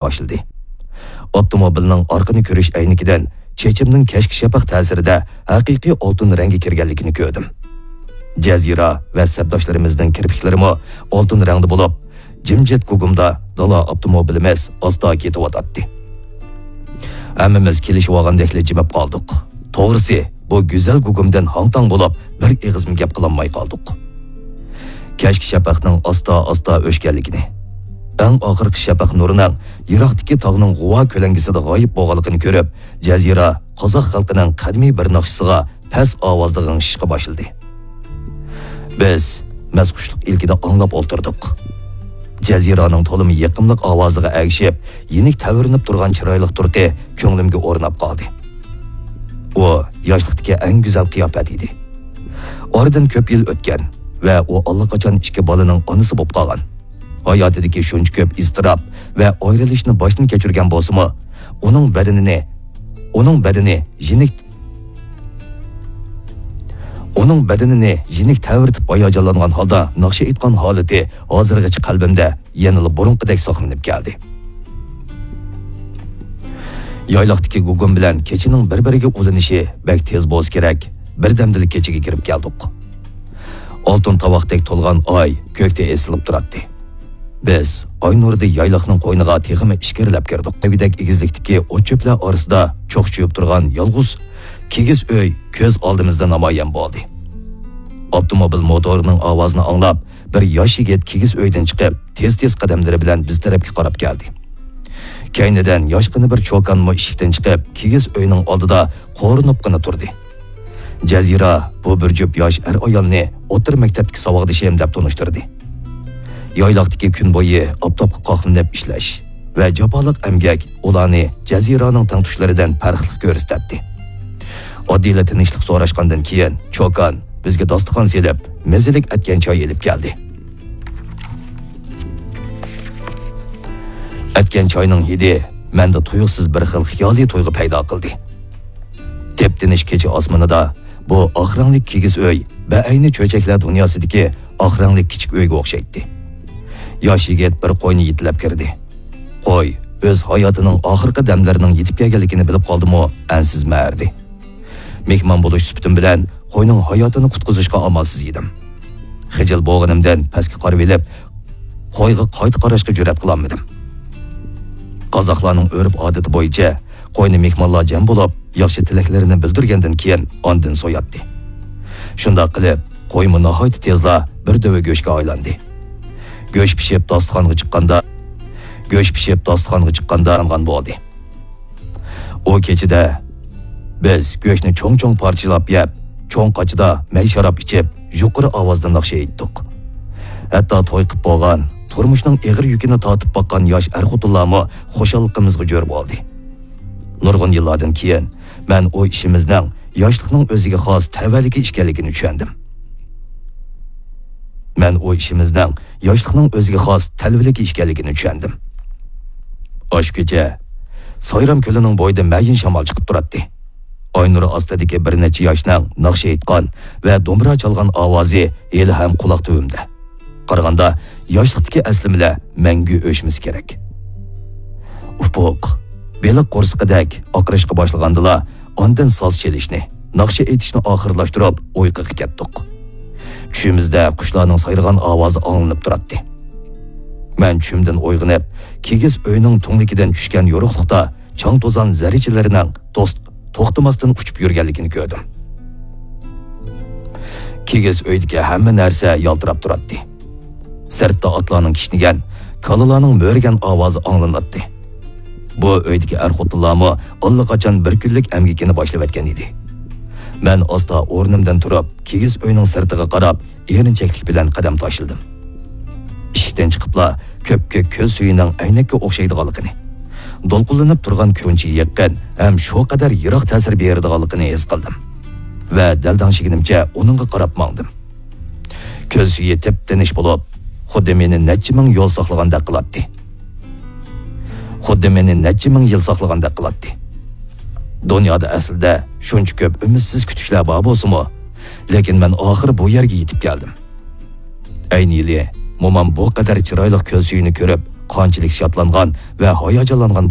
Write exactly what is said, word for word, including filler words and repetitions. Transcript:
باشلىدى. ئاپتوموبىلنىڭ ئارقىنى كۆرۈش ئەينىكىدىن چېچىمنىڭ كەچكى شەپەق تەسىرىدە ھەقىقىي ئالتۇن رەڭگە كىرگەنلىكىنى كۆردۈم. جەزىرە ۋە سەپداشلىرىمىزنىڭ كىرپىكلىرىمۇ ئالتۇن رەڭدە بولۇپ، جىمجىت گۇگۇمدا دالا ئاپتوموبىلىمىز ئاستا كېتىۋاتاتتى. ھەممىمىز كېلىشىۋالغاندەكلا جىمىپ قالدۇق. توغرىسى، بۇ گۈزەل گۇگۇمدىن ھاڭ-تاڭ بولۇپ، بىر ئېغىزمۇ گەپ قىلالماي قالدۇق. كەچكى شەپەقنىڭ ئاستا-ئاستا ئۆچكەنلىكىنى، ئەڭ ئاخىرقى شەپەق نۇرىنىڭ يىراقتىكى تاغنىڭ غۇۋا كۆلەڭگىسىدە غايىب بولغانلىقىنى كۆرۈپ، جەزىرە قازاق خەلقىنىڭ قەدىمىي بىر ناخشىسىغا پەس ئاۋازدا غىڭشىشقا باشلىدى. بىز مەستخۇشلۇق ئىلكىدە ئاڭلاپ ئولتۇردۇق. جەزىرانىڭ تولىمۇ يېقىملىق ئاۋازىغا ئەگىشىپ، يېنىك تەۋرىنىپ تۇرغان چىرايلىق تۇرقى كۆڭلۈمگە ئورناپ قالدى. ئۇ ياشلىقتىكى ئەڭ گۈزەل قىياپەت ئىدى. ئارىدىن كۆپ يىل ئۆتكەن ۋە ئۇ ئاللىقاچان ئىككى بالىنىڭ ئانىسى بولۇپ قالغان. ھاياتىدىكى شۇنچە كۆپ ئىزتىراپ ۋە ئايرىلىشنى باشتىن كەچۈرگەن بولسىمۇ، ئۇنىڭ بەدىنىنى، ئۇنىڭ بەدىنى يېنىك ئۇنىڭ بەدىنىنى يېنىك تەۋرىتىپ ھاياجانلانغان ھالدا ناخشا ئېيتقان ھالىتى ھازىرغىچە قەلبىمدە يەنىلا بۇرۇنقىدەك ساقلىنىپ كەلدى. يايلاقتىكى گۇگۇم بىلەن كېچىنىڭ بىر-بىرىگە ئۇلىنىشى بەك تېز بولسا كېرەك، بىردەمدىلا كېچىگە كىرىپ كەلدۇق. ئالتۇن تاۋاقتەك تولغان ئاي كۆكتە ئېسىلىپ تۇراتتى. بىز ئاي نۇرىدا يايلاقنىڭ قوينىغا تېخىمۇ ئىچكىرىلەپ كىردۇق. دېگۈدەك ئېگىزلىكتىكى ئوت-چۆپلەر ئارىسىدا چوقچىيىپ تۇرغان يالغۇز كىگىز ئۆي كۆز ئالدىمىزدا نامايان بولدى. ئاپتوموبىل موتورىنىڭ ئاۋازىنى ئاڭلاپ، بىر ياش يىگىت كىگىز ئۆيدىن چىقىپ، تېز-تېز قەدەملىرى بىلەن بىز تەرەپكە قاراپ كەلدى. كەينىدىن ياشقىنا بىر چوكانمۇ ئىشىكتىن چىقىپ، كىگىز ئۆينىڭ ئالدىدا قورۇنۇپقىنا تۇردى. جەزىرە بۇ بىر جۈپ ياش ئەر-ئايالنى ئوتتۇرا مەكتەپتىكى ساۋاقدىشىم دەپ تونۇشتۇردى. يايلاقتىكى كۈن بويى ئاپتاپقا قاقلىنىپ ئىشلەش ۋە جاپالىق ئەمگەك ئۇلارنى جەزىرانىڭ تەڭتۇشلىرىدىن پەرقلىق كۆرسىتەتتى. ئاددىيلا تىنچلىق سوراشقاندىن كېيىن، چوكان بىزگە داستىخان سېلىپ، مەززىلىك ئەتكەن چاي ئېلىپ كەلدى. ئەتكەن چاينىڭ ھىدى مەندە تۇيۇقسىز بىر خىل خىيالىي تۇيغۇ پەيدا قىلدى. تېپتىنىش كېچە ئاسمىنىدا بۇ ئاق رەڭلىك كىگىز ئۆي بەئەينى چۆچەكلەر دۇنياسىدىكى ئاق رەڭلىك كىچىك ئۆيگە ئوخشايتتى. ياش يىگىت بىر قوينى يېتىلەپ كىردى. قوي ئۆز ھاياتىنىڭ ئاخىرقى دەملىرىنىڭ يېتىپ كەلگەنلىكىنى بىلىپ قالدىمۇ، ئەنسىز مەرىدى. مېھمان بولۇش سۈپىتىم بىلەن قوينىڭ ھاياتىنى قۇتقۇزۇشقا ئامالسىز ئىدىم. خىجىل بولغىنىمدىن پەسكە قارىۋېلىپ، قويغا قايتا قاراشقا جۈرئەت قىلالمىدىم. قازاقلارنىڭ ئۆرپ-ئادىتى بويىچە، قوينى مېھمانلار جەم بولۇپ، ياخشى تىلەكلىرىنى بىلدۈرگەندىن كېيىن، ئاندىن سوياتتى. شۇنداق قىلىپ، قويمۇ ناھايىتى تېزلا بىر دۆۋە گۆشكە ئايلاندى. گۆش پىشىپ داستىخانغا چىققاندا، گۆش پىشىپ داستىخانغا چىققاندا يانغان بولدى. ئۇ كېچىدە بىز گۆشنى چوڭ-چوڭ پارچىلاپ يەپ، چوڭ قاچىدا مەي شاراب ئىچىپ، يۇقىرى ئاۋازدا ناخشا ئېيتتۇق. ھەتتا توي قىپ بولغان، تۇرمۇشنىڭ ئېغىر يۈكىنى تارتىپ باققان ياش ئەر-خوتۇنلارمۇ خۇشاللىقىمىزغا جۆر بولدى. نۇرغۇن يىللاردىن كېيىن مەن ئۇ ئىشىمىزنىڭ ياشلىقنىڭ ئۆزىگە خاس تەۋەلىكى ئىكەنلىكىنى چۈشەندىم. مەن ئۇ ئىشىمىزنىڭ ياشلىقنىڭ ئۆزىگە خاس تەلۋىلىكى ئىكەنلىكىنى چۈشەندىم. ئاشۇ كېچە سايرام كۆلىنىڭ بويىدا مەيىن شامال چىقىپ تۇراتتى. ئاي نۇرى ئاستىدىكى بىر نەچچە ياشنىڭ ناخشا ئېيتقان ۋە دومبىرا چالغان ئاۋازى ھېلىھەم قۇلاق تۈۋىمدە. قارىغاندا، ياشلىقتىكى ئەسلىمىلەر مەڭگۈ ئۆچمىسە كېرەك. ئۇپۇق، بېلىق قورسىقىدەك ئاقىرىشقا باشلىغاندىلا، ئاندىن ساز چېلىشنى، ناخشا ئېيتىشنى ئاخىرلاشتۇرۇپ، ئۇيقۇغا كەتتۇق. چۈشىمىزدە قۇشلارنىڭ سايرىغان ئاۋازى ئاڭلىنىپ تۇراتتى. مەن چۈشۈمدىن ئويغىنىپ، كىگىز ئۆينىڭ تۈڭلۈكىدىن چۈشكەن يورۇقلۇقتا چاڭ-توزان زەررىچىلىرىنىڭ توس-، توختىماستىن ئۇچۇپ يۈرگەنلىكىنى كۆردۈم. كىگىز ئۆيدىكى ھەممە نەرسە يالتىراپ تۇراتتى. سىرتتا ئاتلارنىڭ كىشنىگەن، كالىلارنىڭ مۆرىگەن ئاۋازى ئاڭلىناتتى. بۇ ئۆيدىكى ئەر-خوتۇنلارمۇ ئاللىقاچان بىر كۈنلۈك ئەمگىكىنى باشلىۋەتكەن ئىدى. مەن ئاستا ئورنۇمدىن تۇرۇپ، كىگىز ئۆينىڭ سىرتىغا قاراپ، ئېرىنچەكلىك بىلەن قەدەم تاشلىدىم. ئىشىكتىن چىقىپلا، كۆپكۆك كۆل سۈيىنىڭ ئەينەككە ئوخشايدىغانلىقىنى، دولقۇنلىنىپ تۇرغان كۆلچىگە يېقىن ھەم شۇ قەدەر يىراق تەسىر بېرىدىغانلىقىنى ھېس قىلدىم ۋە دەلدەڭشىگىنىمچە ئۇنىڭغا قاراپ ماڭدىم. كۆل سۈيى تىپتىنىش بولۇپ، خۇددى مېنى نەچچە مىڭ يىل ساقلىغاندەك قىلاتتى. خۇددى مېنى نەچچە مىڭ يىل ساقلىغاندەك قىلاتتى. دۇنيادا ئەسلىدە شۇنچە كۆپ ئۈمىدسىز كۈتۈشلەر بار بولسىمۇ، لېكىن مەن ئاخىرى بۇ يەرگە يېتىپ كەلدىم. ئەينى يىلى مومام بۇ قەدەر چىرايلىق كۆل سۈيىنى كۆرۈپ، قانچىلىك شادلانغان ۋە ھاياجانلانغان